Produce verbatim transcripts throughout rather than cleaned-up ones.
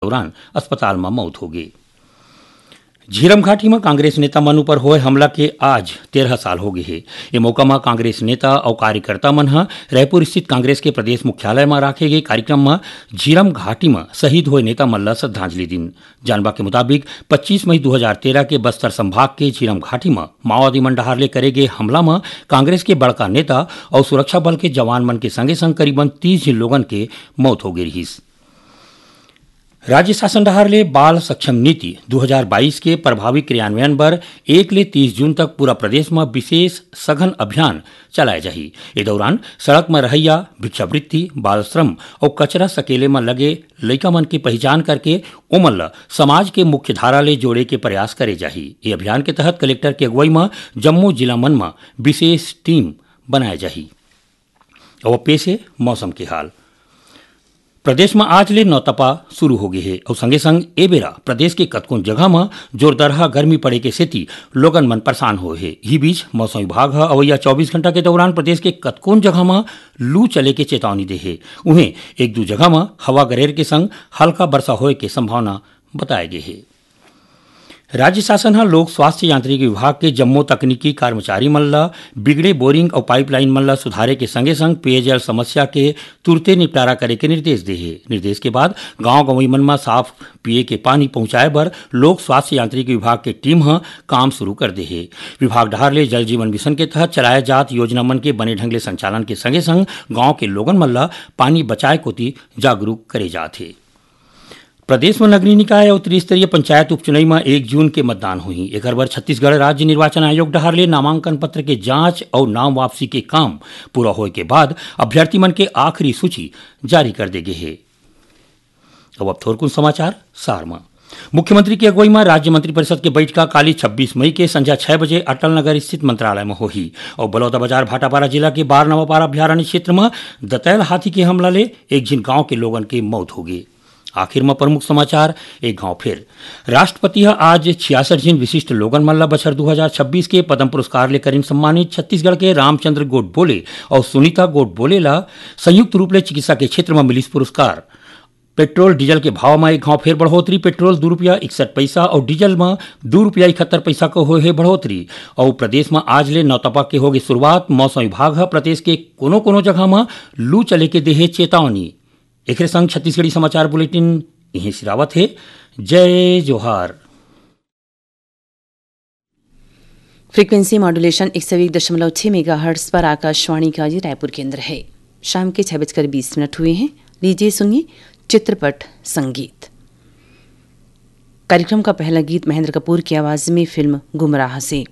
दौरान अस्पताल म मौत हो गे। झीरम घाटी म कांग्रेस नेता मन ऊपर होय हमला के आज तेरह साल हो गे हे। ए मौका म कांग्रेस नेता अउ कार्यकर्ता मन ह रायपुर स्थित कांग्रेस के प्रदेश मुख्यालय म राखे गे कार्यक्रम म झीरम घाटी म शहीद होय नेता मन ल श्रद्धांजलि दिन। जानबा के मुताबिक, पच्चीस मई दू हजार तेरह के बस्तर संभाग के झीरम घाटी म माओवादी मन डहार ले करे गे हमला म कांग्रेस के बड़का नेता अउ सुरक्षा बल के जवान मन के संगे संग करीबन तीस झिन लोगन के मौत हो गे रिहिस। राज्य शासन डहार ले बाल सक्षम नीति दू हजार बाईस के प्रभावी क्रियान्वयन बर एक ले तीस जून तक पूरा प्रदेश म विशेष सघन अभियान चलाए जाही। ए दौरान सड़क म रहइया, भिक्षावृत्ति, बाल श्रम अउ कचरा सकेले म लगे लइका मन के पहिचान करके ओमन ल समाज के मुख्य धारा ले जोड़े के प्रयास करे जाही। ए अभियान के तहत कलेक्टर के अगुवई म जम्मो जिला मन म विशेष टीम बनाए जाही। अब पेश हे मौसम के हाल। प्रदेश म आज ले नौतपा शुरू हो गे हे अउ संगे संग ए बेरा प्रदेश के कतकोन जगह म जोरदरहा गर्मी पड़े के सेती लोगन मन परेशान होए हे। इही बीच मौसम विभाग ह अवइया चौबीस घंटा के दौरान प्रदेश के कतकोन जगह म लू चले के चेतावनी दे हे। उहें, एक दू जगह म हवा गरेर के संग हल्का बरसा होए के संभावना बताए गे हे। राज्य शासन ह लोक स्वास्थ्य यांत्रिकी विभाग के जम्मो तकनीकी कर्मचारी मन ल बिगड़े बोरिंग अउ पाइपलाइन मन ल सुधारे के संगे संग पेयजल समस्या के तुरते निपटारा करे के निर्देश दे हे। निर्देश के बाद गांव गंवई मन म साफ पीए के पानी पहुंचाए बर लोक स्वास्थ्य यांत्रिकी विभाग के टीम ह काम शुरू कर दे हे। विभाग डहार ले जल जीवन मिशन के तहत चलाए जात योजना मन के बने ढंग ले संचालन के संगे संग गांव के लोगन मन ल पानी बचाए कोति जागरूक करे जात हे। प्रदेश म नगरीय निकाय अउ त्रिस्तरीय पंचायत उपचुनई म एक जून के मतदान होही। एकर बर छत्तीसगढ़ राज्य निर्वाचन आयोग डहार ले नामांकन पत्र के जांच अउ नाम वापसी के काम पूरा होए के बाद अभ्यर्थी मन के आखिरी सूची जारी कर दे गे हे। अब, अब थोरकुन समाचार सार म। मुख्यमंत्री के अगुवई म राज्य मंत्रिपरिषद के बइठका काली छब्बीस मई के संझा छह बजे अटल नगर स्थित मंत्रालय म होही अउ बलौदाबाजार भाटापारा जिला के बार नवापारा अभयारण्य क्षेत्र म दतैल हाथी के हमला ले एक झिन गांव के लोगन के मौत होगे। आखिर म प्रमुख समाचार एक घांव फेर। राष्ट्रपति ह आज छियासठ झिन विशिष्ट लोगन मन ल बछर दू हजार छब्बीस के पद्म पुरस्कार ले करिन सम्मानित। छत्तीसगढ़ के रामचंद्र गोडबोले अउ सुनीता गोडबोले ल संयुक्त रूप ले चिकित्सा के क्षेत्र म मिलिस पुरस्कार। पेट्रोल डीजल के भाव म एक घांव फेर बढ़ोतरी। पेट्रोल दू रुपया इकसठ पइसा अउ डीजल म दू रुपया इकहत्तर पइसा के होए हे बढ़ोतरी। अउ प्रदेश म आज ले नौतपा के होगे शुरुआत। मौसम विभाग ह प्रदेश के कोनो कोनो जगह म लू चले के देहे चेतावनी। एकरे संग छत्तीसगढ़ी समाचार बुलेटिन इहें सिरावत हे। जय जोहार। फ्रीक्वेंसी मॉड्यूलेशन एक सौ एक दशमलव छह मेगाहर्ट्ज पर आकाशवाणी का ये रायपुर केंद्र है। शाम के छह बजकर बीस मिनट हुए हैं। लीजिए, सुनिए चित्रपट संगीत। कार्यक्रम का पहला गीत महेंद्र कपूर की आवाज में फिल्म गुमराह से।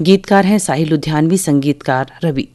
गीतकार हैं साहिर लुधियानवी, संगीतकार रवि।